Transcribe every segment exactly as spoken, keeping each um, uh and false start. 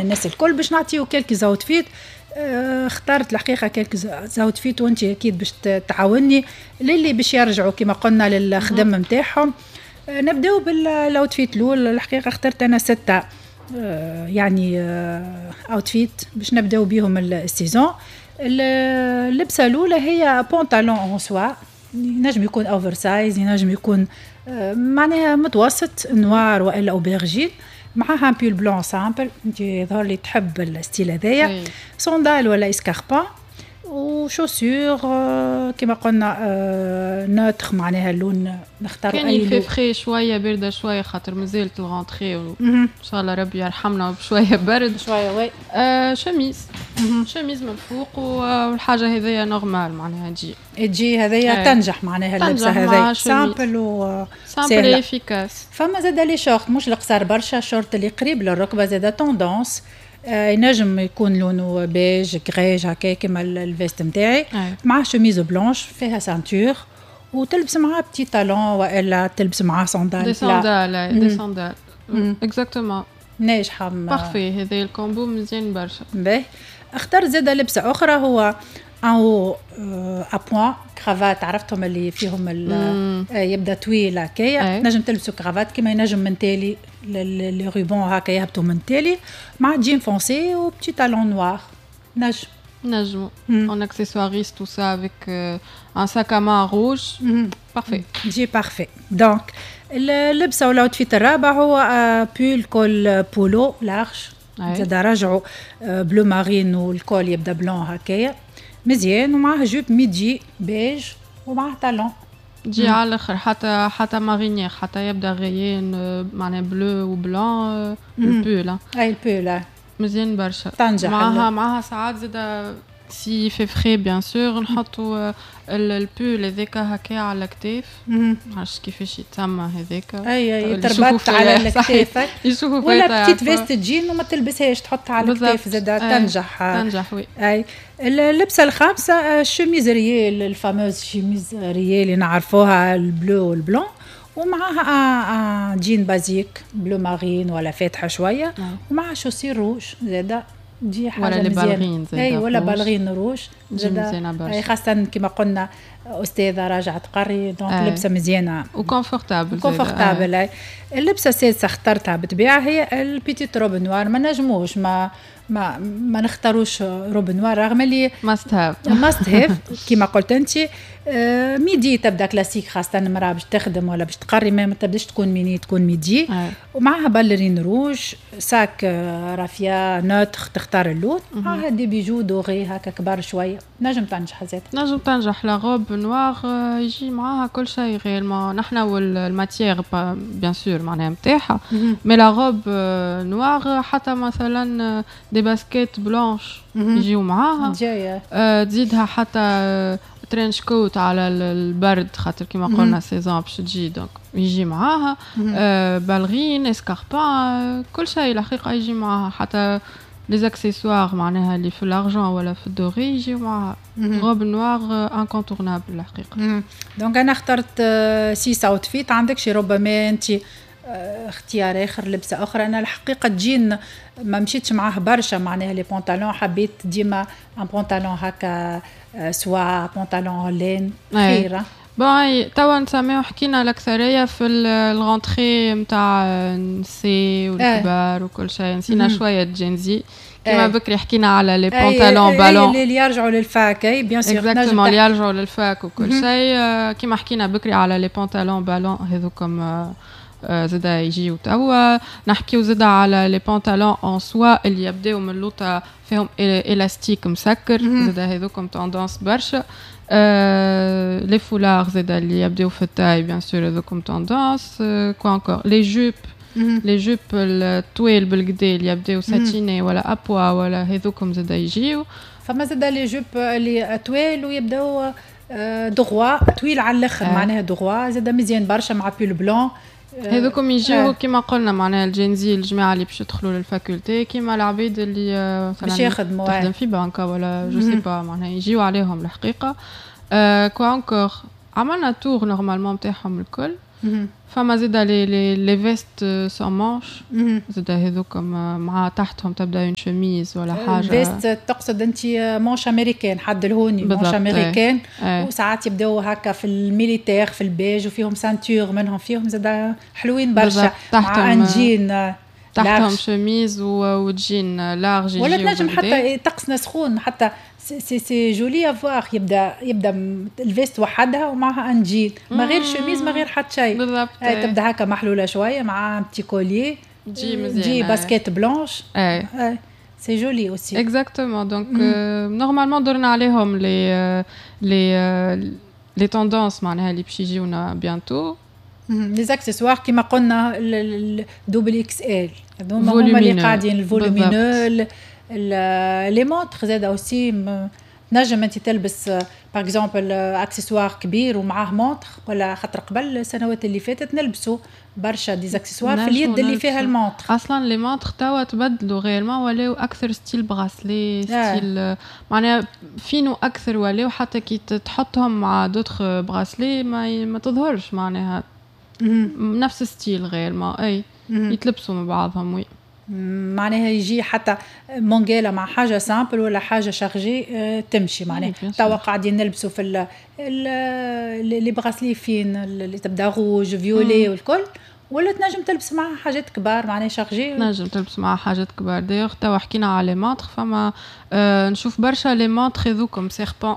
الناس الكل باش نعطيو quelques outfits. آه، اخترت الحقيقة quelques outfits، وانت اكيد باش تعاوني للي باش يرجعوا كما قلنا للخدم نتاعهم. آه، نبداو بال outfit الاول. الحقيقة اخترت انا ستة آه، يعني outfits باش نبداو بيهم ال saison. اللبسه الاولى هي pantalon en soie، ينجم يكون oversize، ينجم يكون معناها متوسط، noir والا aubergine، معاها pull blanc simple. انت يظهر لي تحب ال style هذايا. sandales ولا escarpins و chaussures كما قلنا neutre، معناها اللون نختار. اي كان في frais شويه، باردة شويه، خاطر مازالت ال rentrée، ان شاء الله ربي يرحمنا بشوية برد. شويه، oui. آه chemise chemise من الفوق، والحاجة هذيا normal معناها تجي. تجي هذيا، تنجح معناها اللبسه هذيا simple و simple، efficace. فما زاد les shorts، مش القصار برشا، شورت اللي قريب للركبه زاد tendance. آه ينجم يكون لونه beige، grège هكا كيما ال veste نتاعي، مع chemise blanche فيها ceinture، وتلبس معاه petit talon والا تلبس معاه sandales. des sandales، des sandales، exactement. ناجحه. parfait، هذا ال combo مزيان برشا. باهي، اختار زاد لبسه اخرى، هو un à points cravate، عرفتهم اللي فيهم يبدا طويل هكايا، نجم تلبسوا كرافات كيما ينجم من تالي les rubans هكا يهبطوا من تالي، مع jean foncé و petit talon noir نجم. نجمو on accessoirise tout ça avec euh, un sac à main rouge، parfait. تجي parfait. donc اللبسه ولا outfit الرابع هو pull col polo large، زاد رجعوا bleu marine وال col يبدا blanc هكايا مزيان، ومعاه jupe midi beige ومعاه talon. تجي على الاخر، حتى حتى marinière، حتى يبدا rayé معناها bleu و blanc ال pull. اي، ال pull. مزيان برشا. تنجح. معاها معاها ساعات زادا s'il fait frais bien sûr نحطوا ال pull هذاك هكا على الكتاف، معرفش كيفاش يتسمى هذاك. اي اي، تربط على الكتاف. يشوفوا. ولا petite veste jean وما تلبسهاش، تحطها على الكتاف زادا تنجح. تنجح، oui. اي، اللبسه الخامسة chemise rayée، ال fameuse chemise rayée اللي نعرفوها، ال bleu وال blanc، ومعاها un jean basique bleu marine ولا فاتحة شويه، ومعها chaussures rouges زاده تجي حاجة ولا les ballerines. زاده، اي، ولا ballerines rouges. زاده مزيانه برشا. اي، خاصة كما قلنا استاذه راجعه تقري، donc لبسه مزيانه. و confortable. confortable. اللبسه السادسة اخترتها بالطبيعة هي ال petite robe noire. ما نجموش ما ما ما نختاروش robe noire رغم اللي must have. must have كيما قلت انت. آه midi تبدا كلاسيك، خاصة المراة باش تخدم ولا باش تقري، ما تبداش تكون ميني، تكون midi، ومعها ballerines rouges، sac آه، raphia neutre، تختار اللون، معها des bijoux dorés هكا كبار شويه، نجم تنجح زاد. نجم تنجح la robe noire، يجي معاها كل شيء réellement. نحن وال matière bien sûr معناها نتاعها، mais la robe noire حتى مثلا des baskets blanches يجيو معاها. جايه. آه، تزيدها حتى trench coat على البرد، خاطر كيما قلنا saison باش تجي، donc يجي معاها آه ballerines، escarpins، كل شيء الحقيقة يجي معاها. حتى les accessoires معناها اللي في l'argent ولا في ال doré يجيو معاها. robe noire incontournable الحقيقه. donc انا اخترت six outfits. عندك شي ربما انت آه، اختيار اخر، لبسه اخرى؟ انا الحقيقة جين ما مشيتش معاه برشا، معناها les pantalons حبيت ديما un pantalon هكا soie، pantalon laine خيره. bon، توا نسميو حكينا الاكثرية في ال rentrée نتاع النساء والكبار وكل شيء، نسينا شوية Gen Z. كيما بكري حكينا على les pantalons ballon. اللي يرجعوا لل fac، اي bien sûr. exactement، اللي يرجعوا لل fac وكل شيء. كيما حكينا بكري على les pantalons ballon هذوكم زادا يجيو توا. نحكيو زادا على les pantalons en soie اللي يبداو من اللوطه فيهم الاستيك مسكر، زادا هذوكم tendance برشا. les foulards زادا اللي يبداو في ال taille bien sûr هذوكم tendance. quoi encore؟ les jupes les jupes الطويل بالقدا اللي يبداو satinées ولا à pois ولا هذوكم زادا يجيو. فما زادا les jupes اللي طويل ويبداو droit، طويل على الاخر، معناها droit، زادا مزيان برشا مع pull blanc. هذوكم يجيو كيما قلنا معناها ال Gen Z، الجماعة اللي باش يدخلوا لل faculté، كيما العبيد اللي باش يخدموا. تخدم في بنكه ولا je sais pas، معناها يجيو عليهم الحقيقه. أه quoi encore؟ عملنا tour normalement نتاعهم الكل. فما زادا les les les vestes sans manches زادا هذوكم مع تحتهم تبدا une chemise ولا حاجه. veste تقصد انت manches américaines، حد الهوني manches américaines، وساعات يبداو هكا في ال militaire في البيج وفيهم ceinture منهم، فيهم زادا حلوين برشا مع un jean. تحتهم chemise و jean large. ولا تنجم حتى طقسنا سخون، حتى c'est c'est joli à voir، يبدا يبدا ال veste وحدها ومعها un jean ما غير شوميز ما غير حتى شيء. بالضبط. تبدا هكا محلولة شوية مع petit collier. تجي مزيانه. تجي baskets blanches. اي c'est joli aussi. exactement، donc normalement درنا عليهم les les les tendances معناها اللي باش يجيونا bientôt. les accessoires كيما قلنا ال double XL هذوما هما اللي قاعدين ال volumineux. les montres زاد aussi، تنجم انت تلبس par exemple accessoire كبير ومعاه montre، ولا خاطر قبل السنوات اللي فاتت نلبسوا برشا des accessoires في اليد اللي فيها ال montre. اصلا les montres توا تبدلوا réellement، ولاو اكثر style bracelet، style معناها فينو اكثر، ولاو حتى كي تحطهم مع d'autres bracelets ما ما تظهرش، معناها نفس style réellement، اي يتلبسوا مع بعضهم oui. معناها يجي حتى مونجيلا مع حاجة simple ولا حاجة chargée آه، تمشي. معناها توا قاعدين نلبسوا في les bracelets fins اللي تبدا rouge violet والكل، ولا تنجم تلبس معها حاجات كبار معناها chargées. تنجم تلبس معها حاجات كبار. d'ailleurs توا حكينا على les montres، فما آه نشوف برشا les montres هذوكم serpent.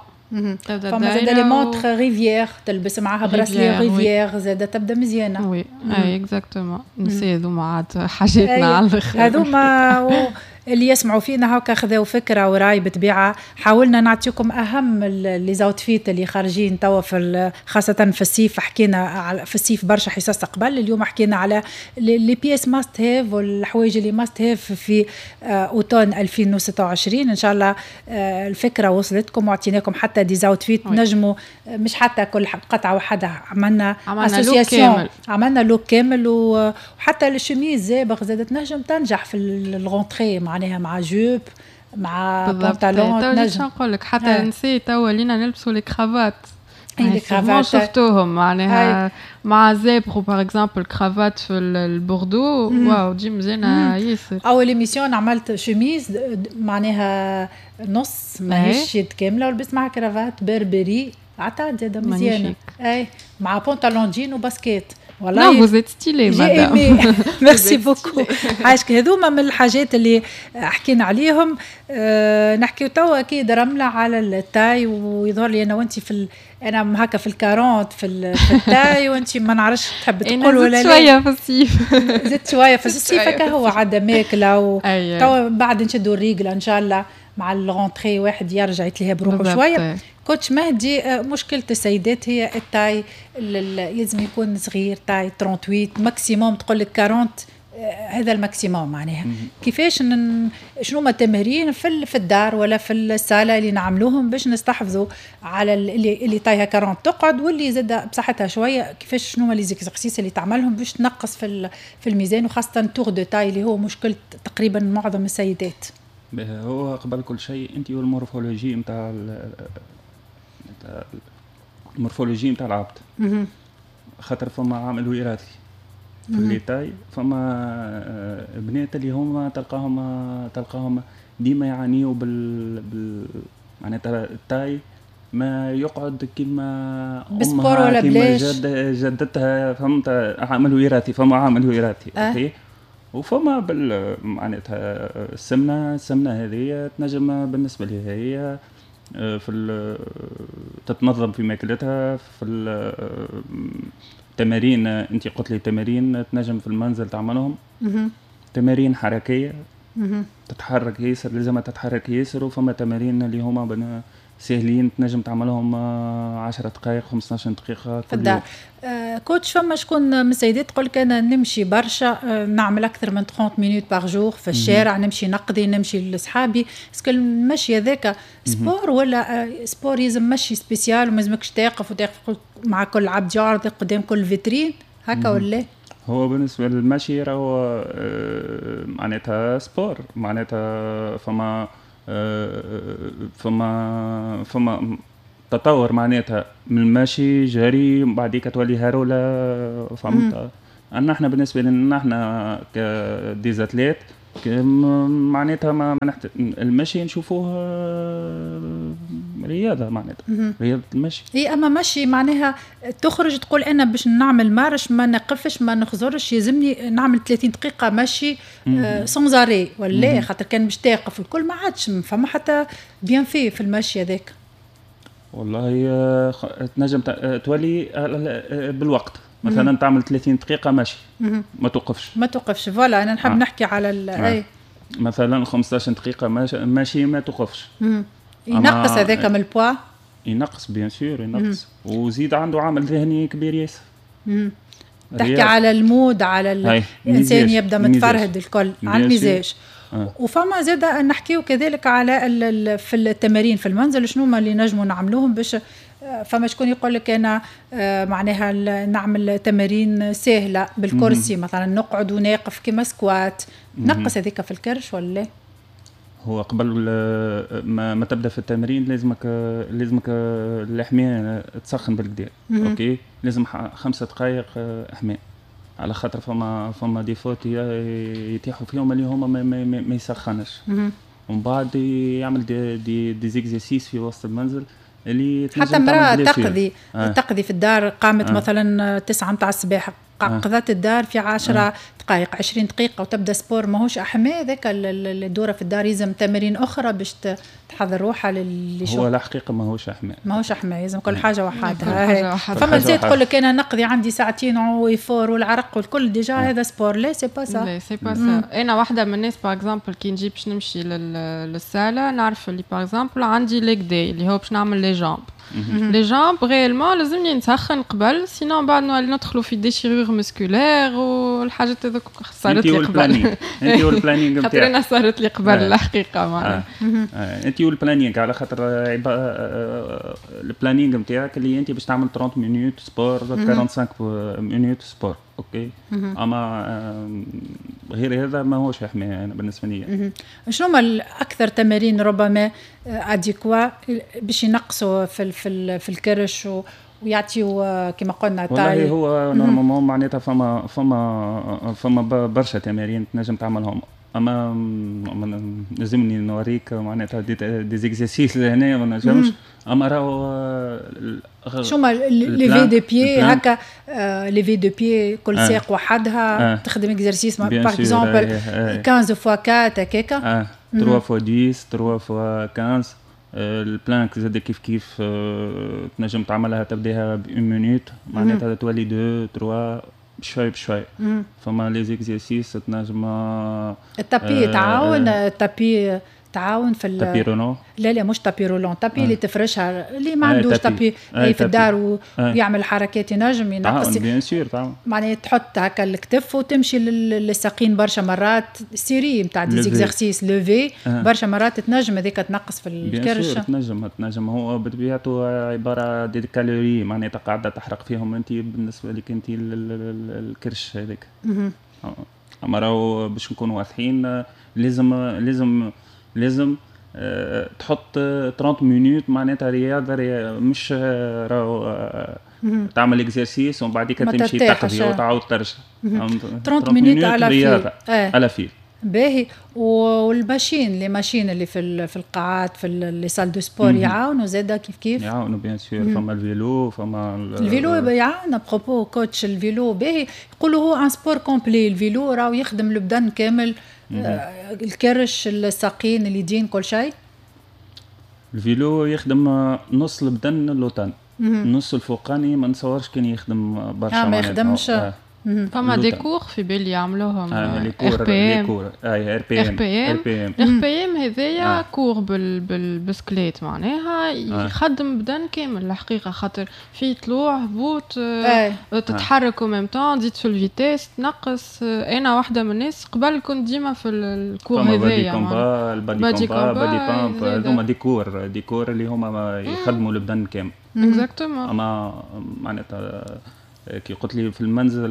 فما زاد les montres rivière، تلبس معاها bracelet rivière زاد تبدا مزيانه. oui اي exactement، نسي هذوما عاد حاجاتنا على الاخر. هذوما اللي يسمعوا فينا هكا خذاو فكرة وراي، بطبيعة حاولنا نعطيكم اهم les outfits اللي خارجين توا في خاصة في الصيف. حكينا في الصيف برشا حصص قبل، اليوم حكينا على les pièces must have والحوايج اللي must have في automne ألفين وستة وعشرين. ان شاء الله آه، الفكرة وصلتكم وعطيناكم حتى des outfits نجموا مش حتى كل قطعه وحدها، عملنا عملنا association، عملنا look كامل. وحتى ال chemise zèbre زادت نجم تنجح في ال rentrée، معناها مع jupe مع بنطلون. تنجم نقول لك حتى نسيت توا ولينا نلبسوا les cravates. اي les cravates. شفتوهم معناها مع zèbre par exemple cravate في البوردو، واو تجي مزيانه ياسر. اول émission عملت شوميز معناها نص ماهيش يد كامله ولبست معها cravate Burberry، عطات زاده مزيانه، اي مع pantalon jean و baskets. والله non vous êtes stylée madame. merci beaucoup عايشك. هذوما من الحاجات اللي حكينا عليهم. أه نحكيو توا اكيد رملة على ال taille، ويظهر لي انا وانت في ال... انا هكا في ال quarante في, في ال taille، وانت ما نعرفش تحب تقول ولا لا. شوية في الصيف. زدت شوية في الصيف، هكا هو عاد ماكله و... توا بعد نشدوا الريقله ان شاء الله مع ال rentrée واحد يرجع يتلهى بروحه شويه. coach مهدي، آه، مشكلة السيدات هي ال taille، لازم يكون صغير، taille ثمانية وثلاثين maximum، تقول لك أربعين آه، هذا ال maximum. معناها كيفاش نن... شنو ما التمارين في في الدار ولا في الصاله اللي نعملوهم باش نستحفظوا على اللي اللي taille ها أربعين تقعد، واللي زاد بصحتها شويه، كيفاش شنو ما les exercices اللي تعملهم باش تنقص في في الميزان، وخاصة tour de taille اللي هو مشكلة تقريبا معظم السيدات؟ هو قبل كل شيء انت وال morphologie نتاع ال morphologie نتاع العبد، خاطر فما عامل وراثي في les tailles. فما آه، بنات اللي هما تلقاهم تلقاهم ديما يعانيوا بال, بال معناتها ال taille ما يقعد كيما ب sport ولا بلاش. جد جدتها، فهمت؟ عامل وراثي، فما عامل وراثي أه؟ okay، وفما بال معناتها السمنه، السمنة هذه تنجم بالنسبة لها هي آه، في تتنظم في ماكلتها، في التمارين. انت قلت لي تمارين تنجم في المنزل تعملهم، تمارين حركيه، تتحرك ياسر، لازم تتحرك ياسر. وفما تمارين اللي هما ساهلين تنجم تعملهم عشر دقائق، خمسطاش دقيقة. في الدار. آه coach، فما شكون من السيدات تقول لك انا نمشي برشا، آه نعمل اكثر من ثلاثين minutes par jour في الشارع، نمشي نقضي، نمشي لصحابي، est-ce que المشي هذاك sport ولا آه sport يلزم مشي spécial وما لازمكش تقف وتقف مع كل عبد يعرض قدام كل فيترين هكا ولا؟ هو بالنسبة للمشي راهو آه، معناتها sport، معناتها فما آه، فما فما تطور معناتها من المشي جري بعديك تولي هرولة، فهمت؟ انا احنا بالنسبة لنا احنا ك des athlètes معناتها ما نحت... المشي نشوفوه رياضة معناتها رياضة المشي. اي اما مشي معناها تخرج تقول انا باش نعمل marche ما نقفش ما نخزرش، يلزمني نعمل ثلاثين دقيقة مشي sans arrêt ولا خاطر كان باش تقف الكل ما عادش فما حتى bienfait في المشي هذاك. والله تنجم تولي بالوقت مثلا تعمل ثلاثين دقيقة ماشي ما توقفش ما توقفش voilà. انا نحب آه. نحكي على ال آه. مثلا خمسطاش دقيقة ماشي ما توقفش. ينقص هذاك من البوا، ينقص bien sûr ينقص، وزيد عنده عامل ذهني كبير ياسر. تحكي على ال mood، على الانسان يبدا متفرهد الكل، على المزاج. آه. وفما زاد نحكيو كذلك على في التمارين في المنزل شنو ما اللي نجموا نعملوهم باش فما شكون يقول لك انا معناها نعمل تمارين سهلة بالكرسي مثلا نقعد وناقف كيما squat، نقص هذيك في الكرش ولا؟ هو قبل ما, ما تبدا في التمرين لازمك لازمك الحماية تسخن بالكدا، OK لازم خمسة دقائق حماية، على خاطر فما فما des fautes يتيحوا فيهم اللي هما ما, ما, ما, ما يسخنش، ومن بعد يعمل des des, des exercices في وسط المنزل اللي حتى امرأة تقضي آه. تقضي في الدار قامت آه. مثلا تسعة متاع الصباح قضت الدار في عشرة آه. دقائق عشرين دقيقة وتبدا sport، ماهوش أحماء ذاك الدورة في الدار، يلزم تمارين أخرى باش تحضر روحها للي شو. هو الحقيقة ماهوش أحماء، ماهوش أحماء، يلزم كل حاجة وحدها. فما نساء تقول لك أنا نقضي عندي ساعتين و effort والعرق والكل déjà آه. هذا sport، لا c'est pas ça، لا c'est pas ça. أنا واحدة من الناس par exemple كي نجي باش نمشي للسالة نعرف اللي par exemple عندي leg day اللي هو باش نعمل les jambes، les jambes réellement لازمني نسخن قبل، sinon بعد ندخلوا في déchirure musculaire والحاجات هذوك صارت لي قبل. انت وال planning نتاعك، خاطر انا صارت لي قبل الحقيقة معناها. انت وال planning، على خاطر ال planning نتاعك اللي انت باش تعمل ثلاثين minutes sport، خمسة وأربعين minutes sport، OK. اما غير هذا ماهوش حماية انا بالنسبة لي. شنو هما الاكثر تمارين ربما adéquats باش ينقصوا في في في الكرش ويعطيو كما قلنا taille؟ والله هو normalement معناتها فما فما فما برشا تمارين تنجم تعملهم، اما لازمني نوريك معناتها des, des exercices لهنا ما نجمش، اما راهو شو ما lever de pied هكا، lever de pied كل آه. ساق وحدها آه. تخدم exercice par exemple خمسطاش fois أربعة هكاكا، ثلاثة fois عشرة، ثلاثة fois خمسطاش. ال planche زاد كيف كيف تنجم تعملها تبداها ب une minute معناتها تولي اثنين ثلاثة بشوي بشوي. فما les exercices تنجم ال tapis تعاون، ال tapis تعاون في tapis roulant؟ لا لا مش tapis roulant، tapis آه. اللي تفرشها، اللي ما عندوش tapis آه. في الدار و... آه. ويعمل حركات ينجم ينقص. bien sûr تعاون. معناها تحط هكا الكتف وتمشي للساقين برشا مرات، série نتاع des exercices lever آه. برشا مرات تنجم هذيك تنقص في الكرش. تنجم تنجم، هو بطبيعته عبارة des calories معناتها قاعدة تحرق فيهم انت بالنسبة لك انت الكرش هذاك. اما راهو باش نكونوا واضحين لازم لازم لازم أه تحط ثلاثين minutes معناتها رياضة، مش راهو تعمل exercice ومن بعد تمشي تقضي وتعاود ترجع. ثلاثين minutes على رياضة آه. على fil. باهي. وال machines، les machines اللي في في القاعات في les salles de sport يعاونوا زاده كيف كيف؟ يعاونوا bien sûr. فما ال vélo، فما ال vélo يعاون. à propos coach، ال vélo باهي، يقولوا هو un sport complet ال vélo، راهو يخدم البدن كامل، آه الكرش، الساقين، اليدين، كل شيء. ال vélo يخدم نص البدن اللوطاني، النص الفوقاني ما نتصورش كان يخدم برشا. آه ما يخدمش. آه. فما des cours في بالي يعملوهم. ار بي ام، اي ار بي ام، ار بي ام، ار بي ام هذايا cours بالبسكليت معناها يخدم بدن كامل الحقيقه، خاطر في طلوع هبوط تتحرك au même temps تزيد في ال vitesse تنقص. انا واحدة من الناس قبل كنت ديما في ال cours هذايا، ال body combat، body pump، هذوما des cours des cours اللي هما يخدموا البدن كامل. exactement. اما معناتها كي قلت لي في المنزل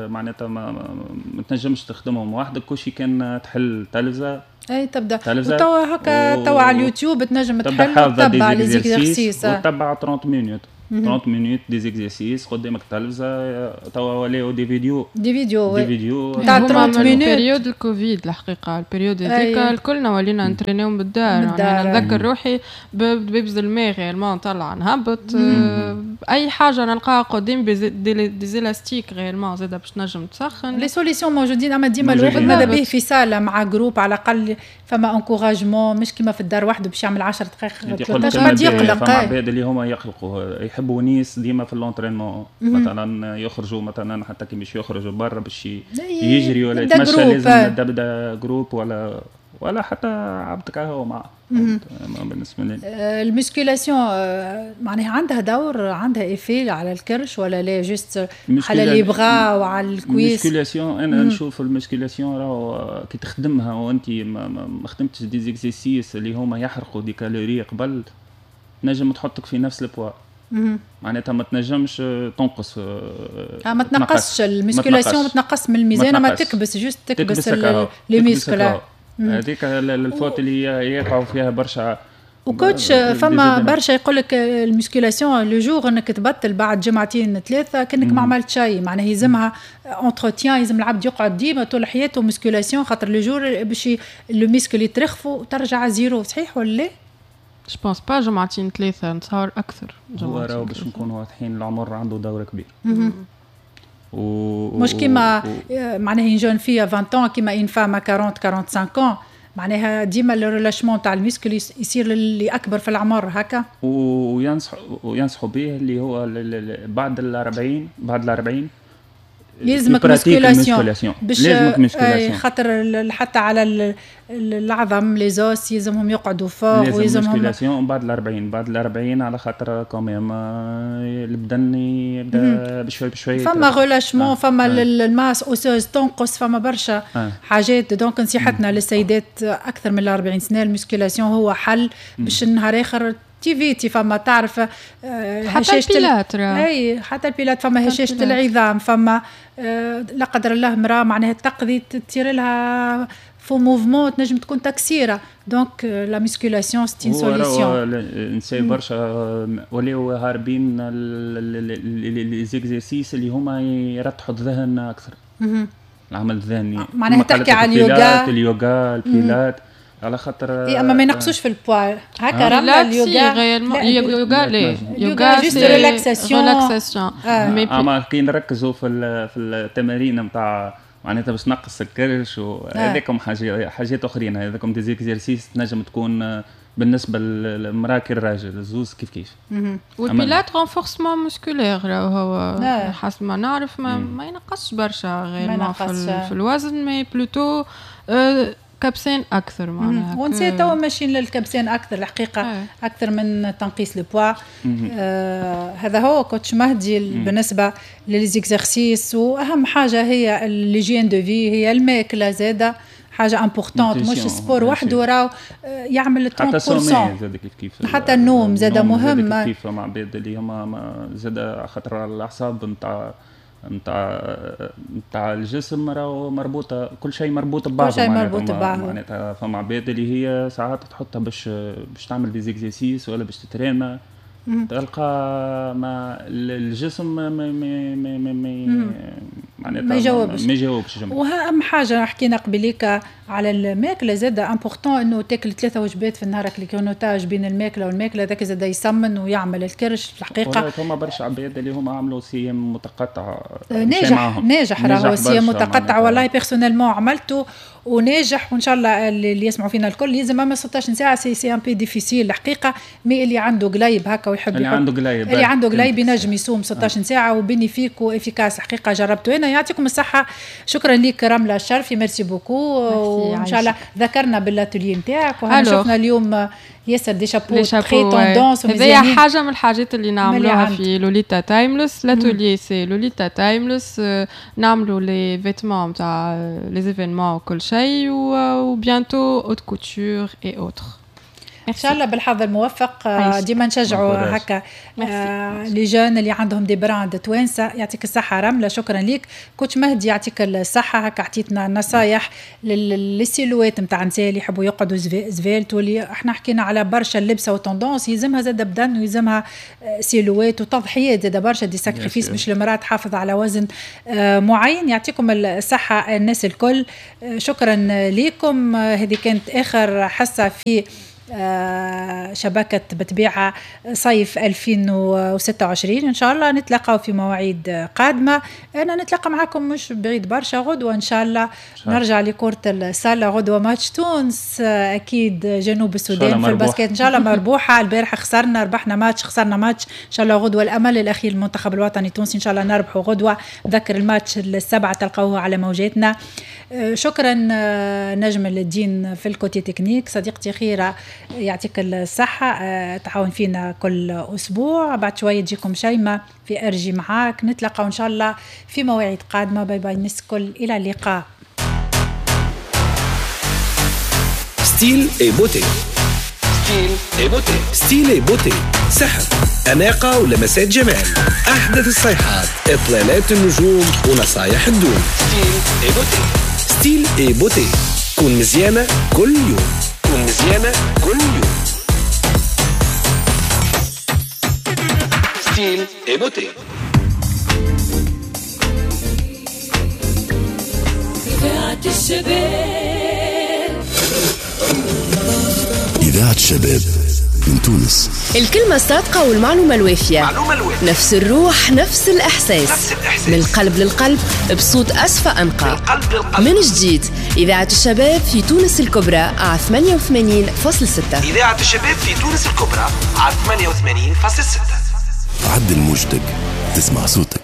معناتها ما, ما تنجمش تخدمهم وحدك، كلشي كان تحل تلفزه اي تبدا وتوا هكا توا على اليوتيوب تنجم تحل وتتبع les exercices وتتبع ثلاثين minutes ثلاثين minutes des exercices قدامك تلفزه. توا ولاو des vidéos des vidéos des vidéos تاع ثلاثين minutes. période الكوفيد الحقيقة ال période هذيك الكلنا ولينا نترينيو بالدار. انا نذكر روحي ببز الماء réellement طلع نهبط اي حاجة نلقاها قدام des élastiques réellement زاده باش نجم تسخن. les solutions موجودين، اما ديما الواحد ماذا به في salle مع groupe على الاقل فما encouragement، مش كيما في الدار وحده باش يعمل عشر دقائق ثلاثطاش بعد يقلق. فما عباد اللي هما يقلقوا يحبوا نيس ديما في l'entraînement مثلا يخرجوا مثلا حتى كي مش يخرجوا برا باش يجري ولا يتمشى لازم تبدا groupe ولا ولا حتى عبدك هو مع بالنسبة لي ال musculation معناها عندها دور، عندها effet على الكرش ولا لا juste على les bras وعلى ال cuisses؟ ال musculation انا نشوف ال musculation راهو كي تخدمها وانت ما, ما خدمتش des exercices اللي هما يحرقوا des calories قبل تنجم تحطك في نفس البوا، معناتها ما تنجمش تنقص. آه ما تنقصش ال musculation، ما تنقص من الميزان، ما تكبس juste تكبس les muscles. هذيك ال faute اللي يقعوا فيها برشا. و coach فما برشا يقول لك ال musculation le jour انك تبطل بعد جمعتين ثلاثة كانك ما عملت شيء، معناها يلزمها entretien، يلزم العبد يقعد ديما طول حياته musculation، خاطر le jour باش le muscle يترخفوا وترجع zéro. صحيح ولا لا؟ je pense pas جمعتين ثلاثة، نتصور اكثر. هو راهو باش نكونوا واضحين العمر عنده دور كبير. و... مش كيما و... معناها une jeune fille عشرين كيما une femme أربعين خمسة وأربعين، معناها ديما ال relâchement تاع ال muscle يصير للي اكبر في العمر هكا. وينصح وينصحوا به اللي هو بعد الأربعين، بعد الأربعين يلزمك musculation باش لازمك musculation، خاطر حتى على العظم les os يلزمهم يقعدوا فوق ويلزمهم musculation بعد الأربعين، بعد الأربعين على خاطر quand même البدن يبدا بشوي بشوي فما relâchement، فما ال masse osseuse تنقص، فما برشا آه. حاجات. donc نصيحتنا للسيدات اكثر من الأربعين سنة ال musculation هو حل باش النهار اخر تيفيتي. فما تعرف حتى البيلات اي حتى البيلات فما هشاشة العظام، فما لا قدر الله مراة معناها تقضي تصير لها faux mouvement تنجم تكون تكسيره. donc la musculation c'est une solution. نساء برشا ولاو هاربين les exercices اللي هما يرتحوا الذهن اكثر، العمل الذهني معناها تحكي على اليوغا اليوغا البيلات على خاطر اي اما ما ينقصوش في البوا هكا رملة اليوغا. اليوغا لا اليوغا juste relaxation relaxation، اما كي نركزوا في في التمارين نتاع معناتها باش نقص الكرش وهذاكم حاجات حاجات اخرين، هذاكم des exercices تنجم تكون بالنسبة للمراة كالراجل الزوز كيف كيف. وال pilates renforcement musculaire هو حسب ما نعرف ما, ما ينقصش برشا غير في, في الوزن، mais plutôt كبسين اكثر معناها. ونسي توا ماشيين للكبسين اكثر الحقيقة آه. اكثر من تنقيص البوا. آه هذا هو coach مهدي بالنسبة ل les exercices. واهم حاجة هي l'hygiène de vie، هي الماكلة زاده حاجة importante، مش ال sport وحده راهو يعمل ثلاثين بالمية. زاد كيف كيف حتى النوم زاد مهم كيف مع عباد اللي هما زاد خاطر الاعصاب نتاع نتاع نتاع الجسم راهو مربوطة، كل شيء مربوط ببعضه، كل شيء مربوط ببعضه. معناتها فما عباد اللي هي ساعات تحطها باش باش تعمل des exercices ولا باش تترينا، تلقى ما الجسم ما ما ما ما ما, ما يجاوبش ما يجاوبش. واهم حاجة حكينا قبليك على الماكلة زاد important انه تاكل ثلاثة وجبات في النهار، ال grignotage بين الماكلة والماكله ذاك زاد يسمن ويعمل الكرش في الحقيقة. فما برشا عباد اللي هما عملوا صيام متقطع ناجح ناجح راهو صيام متقطع، والله personnellement عملته وناجح، وان شاء الله اللي يسمعوا فينا الكل لازم اما ستاش ساعة c'est c'est un peu difficile الحقيقة، mais اللي عنده قليب هكا ويحب اللي عنده قليب اللي عنده قليب ينجم يصوم ستاش ساعة و bénéfique و efficace الحقيقة جربته انا. يعطيكم الصحة، شكرا لك رملة الشرفي، merci beaucoup، وان شاء الله ذكرنا بالاتولي نتاعك وهنا شفنا اليوم ياسر des chapeaux très tendance. هذه حاجة من الحاجات اللي نعملوها في لوليتا تايملس، l'atelier c'est لوليتا تايملس، نعملوا les vêtements نتاع les événements وكل شيء، و bientôt haute couture et autres. ان شاء الله بالحظ الموفق. ديما نشجعوا هكا les jeunes اللي عندهم des brands توانسة. يعطيك الصحة رملة، شكرا ليك. coach مهدي يعطيك الصحة، هكا عطيتنا نصايح لل silhouettes نتاع النساء اللي يحبوا يقعدوا sveltes، واللي احنا حكينا على برشا اللبسه و tendance يلزمها زاد بدن ويلزمها silhouette وتضحيات زاد برشا des sacrifices باش المراة تحافظ على وزن معين. يعطيكم الصحة الناس الكل، شكرا لكم. هذه كانت اخر حصة في شبكة بطبيعة صيف ألفين وستة وعشرين. إن شاء الله نتلاقاو في مواعيد قادمة. أنا نتلاقى معكم مش بعيد برشا غدوة إن شاء الله، نرجع لكرة السلة غدوة ماتش تونس أكيد جنوب السودان في ال basket إن شاء الله مربوحة. البارحة خسرنا، ربحنا ماتش خسرنا ماتش، إن شاء الله غدوة الأمل الأخير المنتخب الوطني التونسي إن شاء الله نربحه غدوة. ذكر الماتش السبعة تلقوه على موجاتنا. شكرا نجم الدين في ال côté technique، صديقتي خيرة يعطيك الصحة تعاون فينا كل أسبوع. بعد شوية تجيكم شيماء في أرجي معاك. نتلاقى إن شاء الله في مواعيد قادمة. bye bye الناس الكل، إلى اللقاء. style et beauté، style et beauté، style et beauté، سحر، أناقة ولمسات جمال، أحدث الصيحات، إطلالات النجوم ونصايح الدون. style et beauté، style et beauté، كون مزيانة كل يوم، كون مزيانة كل يوم. style et beauté. إذاعة الشباب، إذاعة الشباب من تونس. الكلمة الصادقة والمعلومة الوافية، نفس الروح، نفس الإحساس، نفس الإحساس. من القلب للقلب، بصوت أصفى أنقى. من جديد إذاعة الشباب في تونس الكبرى على ثمانية وثمانين فاصلة ستة. إذاعة الشباب في تونس الكبرى على ثمانية وثمانين فاصلة ستة. عدل موجتك تسمع صوتك.